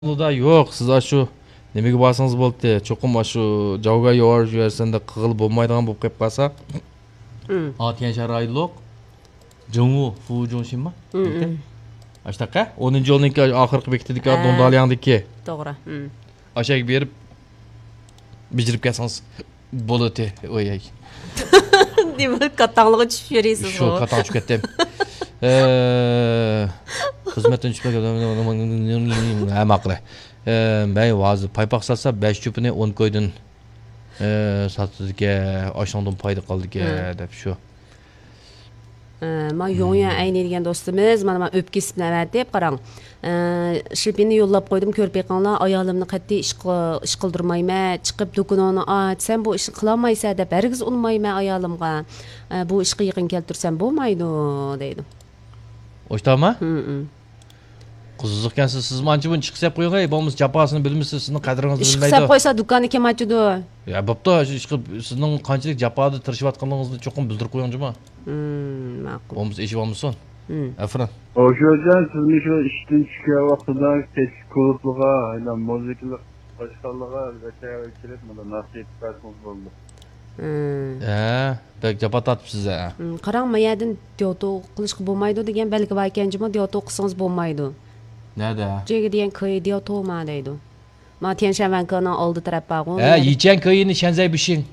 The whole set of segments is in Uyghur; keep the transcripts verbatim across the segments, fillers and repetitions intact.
يولدا يوق، سىز ئاشۇ نېمىگە بارسىڭىز بولدى. چوقۇم ئاشۇ جاۋگا يوار يۈرسەندە قىغىلى بولمايدىغان بولۇپ قېلىپ قالسا. ھا، تيەنشان رايونلۇق جىڭۋۇ فۇجۇڭشىنما؟ ئاشتاققا ئونىنچى يولنىڭكى ئاخىرقى بېكىتىدىكى ھە. دۇڭدالياڭدىكى. توغرا. ئاشاققا بېرىپ بېجىرىپ كەلسىڭىز بولىدۇ. ئوي. نېمە كاتاڭلىققا چۈشۈپ يۈرىسىز؟ شۇ كاتاڭ چۈشۈپ كەتتىم. خىزمەتتىن چۈشۈپ ھە ماقۇل. مەن ھازىر پايپاق ساتسا بەش چوپىنى ئون كويدىن ساتىدىكەن، ئاشۇنىڭدىن پايدا قالىدىكەن دەپ شۇ. ما يوڭيۈەن ئەينى دېگەن دوستىمىز مانا مانا ئۆپكە كېسىپ نەۋەتىپ قاراڭ. شىپىننى يوللاپ قويدۇم، كۆرۈپ بېقىڭلار، ئايالىمنى قەتئىي ئىش قىل-، ئىش قىلدۇرمايمەن، چىقىپ دۇكىنىڭنى ئاچ، سەن بۇ ئىشنى قىلالمايسەن دەپ ھەرگىز ئۇنىمايمەن ئايالىمغا. بۇ ئىشقا يېقىن كەلتۈرسەم بولمايدۇ دەيدۇ. ئوشتاما؟ قىزىقكەنسىز، سىزمۇ ئانچە مۇنچە ئىشقا سەپ قويۇڭ، بولمىسا جاپاسىنى بىلمىسە سىزنىڭ قەدرىڭىزنى ئىشقا بىلمەيدۇ. سەپ قويسا دۇكاننى كىم ئاچىدۇ؟ يا بوپتۇ، شۇ ئىشقا سىزنىڭ قانچىلىك جاپادا تىرىشىۋاتقانلىقىڭىزنى چوقۇم بىلدۈرۈپ قويۇڭ جۇما. ماقۇل. بولمىسا ئېشىۋالمىسۇن. ئەفۇرۇن. ئوشۇجان، سىزمۇ شۇ ئىشتىن چۈشكەن ۋاقتىدا كەچلىك كۇلۇبلىغا، ئاينا مۇزىكىلىق باشقانلىغا ۋەتەنگە كېلىپ مۇنداق نەسىھەت بەرسىڭىز بولىدۇ. ھە، بەك جاپا تارتىپسىز ھە. قاراڭ، ما يەردىن دياۋتو قىلىشقا بولمايدۇ دېگەن بەلگە بار ئىكەن جۇمۇ، دياۋتو قىلسىڭىز بولمايدۇ. نەدە؟ جېگە دېگەن كوي دياۋتو ما دەيدۇ. ما تيەنشان ۋەنكېنىڭ ئالدى تەرەپ بارغۇ. ھە، يىچەن كويىنى شەنزەي بىشىڭ.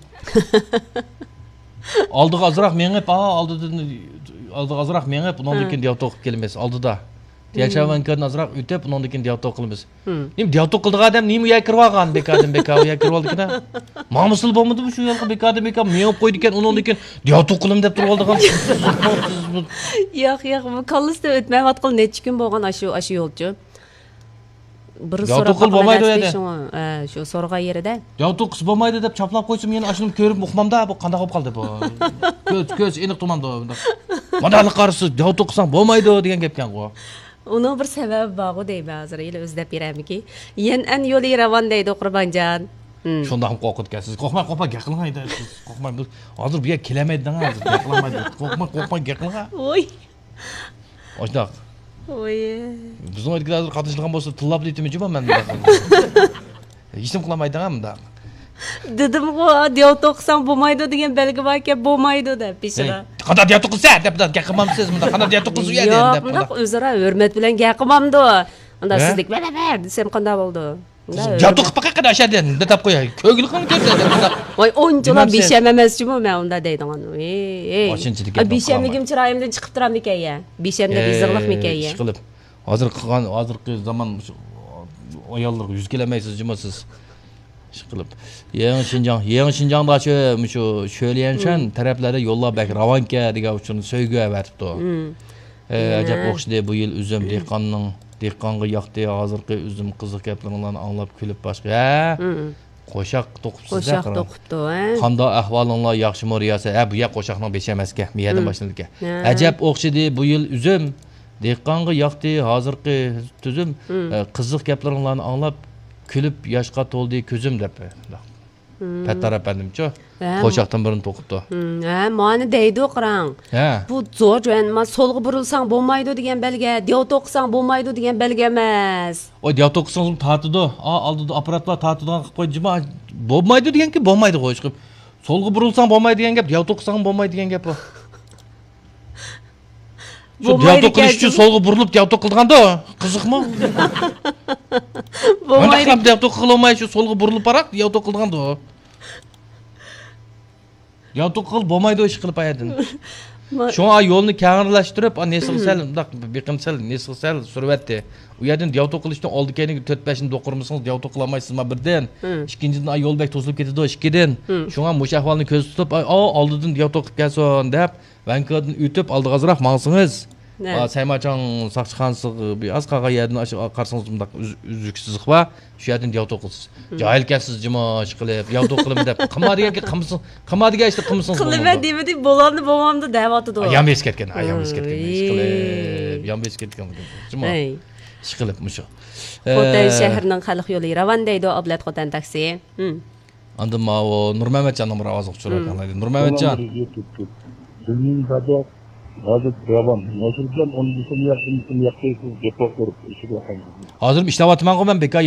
ئالدىغا ئازراق مېڭىپ، ئا، ئالدىدىن، ئالدىغا ئازراق مېڭىپ، ئۇنىڭدىن كېيىن دياۋتو قىلىپ كېلىمىز. ئالدىدا. تيەنشان ۋەنكېدىن ئازراق ئۆتۈپ، ئۇنىڭدىن كېيىن دياۋتو قىلىمىز. نېمە دىياۋتوق قىلىدىغان ئادەم نېمە يەر كىرىۋالغان، بىكاردىن بىكار يەر كىرىۋالدىكىنا. ماڭمىسىلا بولمىدىمۇ شۇ يولغا بىكاردىن بىكار مېڭىپ قويىدىكەن، ئۇنىڭدىن كېيىن دىياۋتوق قىلىمەن دەپ تۇرۇۋالىدىغان. ياق، ياق، بۇ كاللىسىدىن ئۆتمەيۋاتقىلى نەچچە كۈن بولغان ئاشۇ، ئاشۇ يولچۇ. بىر دىياۋتوق قىلىپ بولمايدۇ ئۇ يەردە. شۇڭا، ھە، شۇ سورىغان يېرىدە. دىياۋتوق قىلسا بولمايدۇ دەپ چاپلاپ قويسىم، يەنە ئاشۇنى كۆرۈپ ئۇقمامدا، بۇ قانداق بولۇپ قالدى بۇ؟ كۆز، كۆز ئېنىق تۇماندۇ بۇنداق. مانداقلا قارىسا دىياۋتوق قىلساڭ بولمايدۇ دېگەن گەپكەنغۇ. ئۇنىڭ بىر سەۋەبى بارغۇ دەيمەن ھازىر، ھېلى ئۆزلەپ بېرەرمىكى؟ يەنئەن يولى راۋان دەيدۇ، قۇربانجان. شۇنداقمۇ قورقىدىكەنسىز؟ قورقماي، قورقماي گەپ قىلىڭ ھەيدە. سىز قورقماي، بىز ھازىر بۇ يەرگە كېلەلمەيدۇ دەڭ، ھازىر گەپ قىلالمايدۇ. قورقماي، قورقماي گەپ قىلىڭ. ۋوي. ئاشۇنداق. ۋوي. بىزنىڭ ئۆيدىكىلەر ھازىر قاتنىشىدىغان بولسا، تىللاپلا ئېيتىمەن جۇما مەن مۇنداق. ھېچنېمە قىلالمايدىغان مۇنداق. دېدىمغۇ، دىياۋتوق قىلساڭ بولمايدۇ دېگەن بەلگە باركەن، بولمايدۇ دەپ بېشىدا. ھەي، قانداق دىياۋتوق قىلسا دەپ، دەپ گەپ قىلمامسىز مۇنداق؟ قانداق دىياۋتوق قىلسا ئۇ يەردە ياق، دەپ مۇنداق قانداق؟ ئۆزئارا ھۆرمەت بىلەن گەپ قىلمامدۇ؟ مۇنداق ھە؟ سىزدەك ۋە، ۋە، ۋە دېسەم قانداق بولىدۇ؟ مۇنداق دىياۋتوق قىلىپ باقاي قېنى ئاشۇ يەردىن دەپ قوياي. كۆگىلىقىڭ كەلسە دەپ مۇنداق. ۋاي، ئۇنچىلا بىشەم ئەمەس جۇمۇ مەن ئۇنداق دەيدىغان. ھېي، ھېي. ئاشۇنچىلىك گەپ بىشەملىكىم چىرايىمدىن چىقىپ تۇرامدىكەن يا؟ بىشەملىك، ئېي، يېزىقلىقمىكەن يا؟ ئىشقىلىپ. ھازىر قىلغان، ھازىرقى زامان مۇشۇ ئاياللارغا يۈز كېلەلمەيسىز جۇمۇ سىز. ئىشقىلىپ. يېڭى شىنجاڭ، يېڭى شىنجاڭدا شۇ، مۇشۇ شۆليەنشەن تەرەپلەردە يوللار بەك راۋانكەن دېگەن ئۇچۇرنى سۆيگۈ ئەۋەتىپتۇ. ئەجەب ئوخشىدى بۇ يىل ئۈزۈم، دېھقاننىڭ، دېھقانغا ياقتى ھازىرقى ئۈزۈم، قىزىق گەپلىرىڭلارنى ئاڭلاپ كۈلۈپ باشقا. ھە؟ قوشاق توقۇپسىز قوشاق توقۇپتۇ، ھە؟ قانداق ئەھۋالىڭلار، ياخشىمۇ رىياسەت؟ ھە، بۇ يەر قوشاقنىڭ بېشى ئەمەسكەن، بۇ يەردىن باشلىنىدىكەن. ھە. ئەجەب ئوخشىدى بۇ يىل ئۈزۈم، دېھقانغا ياقتى ھازىرقى تۈزۈم، قىزىق گەپلىرىڭلارنى ئاڭلاپ كۈلۈپ ياشقا تولدى كۆزۈم دەپ. پەتتار ئەپەندىمچۇ؟ ھە. قوشاقتىن بىرنى توقۇپتۇ. ھە، مانا دەيدۇ، قاراڭ. ھە. بۇ زور جوەن، ما سولغا بۇرۇلساڭ بولمايدۇ دېگەن بەلگە، دىياۋتوق قىلساڭ بولمايدۇ دېگەن بەلگە ئەمەس. ئوي، دىياۋتوق قىلسىڭىزمۇ تارتىدۇ. ئا، ئالدىدا ئاپپاراتلار تارتىدىغان قىلىپ قويدى جۇما. بولمايدۇ دېگەنكى بولمايدىغۇ، ئىشقىلىپ. سولغا بۇرۇلساڭ بولمايدۇ دېگەن گەپ، دىياۋتوق قىلساڭمۇ بولمايدۇ دېگەن گەپ بۇ. شۇ دىياۋتوق قىلىش ئۈچۈن سولغا بۇرۇلۇپ دىياۋتوق قىلىدىغاندۇ. قىزىقمۇ؟ بولمايدۇ. دىياۋتوق قىلالماي شۇ سولغا بۇرۇلۇپ باراق دىياۋتوق قىلىدىغاندۇ. دىياۋتوق قىلىپ بولمايدۇ ئىش قىلىپ ئايەردىن. شۇڭا يولنى كەڭرىلەشتۈرۈپ، نېسىغا سەل مۇنداق بېقىم سەل نېسىغا سەل سۈرۈۋەتتى. ئۇ يەردىن دىياۋتوق قىلىشتىن ئالدى كەينىگە تۆت بەشنى دوقۇرمىسىڭىز دىياۋتوق قىلالمايسىزما بىردىن. ئىككىنچىدىن، يول بەك توسۇلۇپ كېتىدۇ ئىككىدىن. شۇڭا مۇشۇ ئەھۋالنى كۆزدە تۇتۇپ، ئالدىدىن دىياۋتوق قىلىپ كەلسۇن دەپ، ۋەنكودىن ئۆتۈپ ئالدىغا ئازراق ماڭسىڭىز، سەيماچاڭ ساقچىخانىسىغا بىر ئاز قالغان يەردىن ئاشۇ قارىسىڭىز مۇنداق ئۈزۈك سىزىق بار. شۇ يەردىن دىياۋتوق قىلىسىز. جاھىلكەنسىز جىما ئىشقىلىپ، دىياۋتوق قىلىمەن دەپ، قىلما دېگەن گەپ قىلمىسىڭ، قىلما دېگەن ئىشنى قىلمىسىڭىز قىلىمەن دېمىدى، بولامدۇ بولمامدۇ دەۋاتىدۇ. يان بېسىپ كەتكەن، يان بېسىپ كەتكەن ئىشقىلىپ، يان بېسىپ كەتكەن جىما ئىشقىلىپ مۇشۇ. خوتەن شەھىرىنىڭ خەلق يولى راۋان دەيدۇ، ئابلەت خوتەن تاكسى. ئاندىن ماۋۇ نۇرمەمەتجاننىڭ بىر ئاۋازىغا چۈشۈرۈۋەتكەن. نۇرمەمەتجان. بىزنىڭ سادىق ھازىر راۋان. نەسىردىن ئۇنى دېسە، ياقتىن دېسە، ياقتى سىز گەپ قىلىپ ئىشىگە قايتىدۇ. ھازىر ئىشلەۋاتىمەنغۇ مەن بىكار.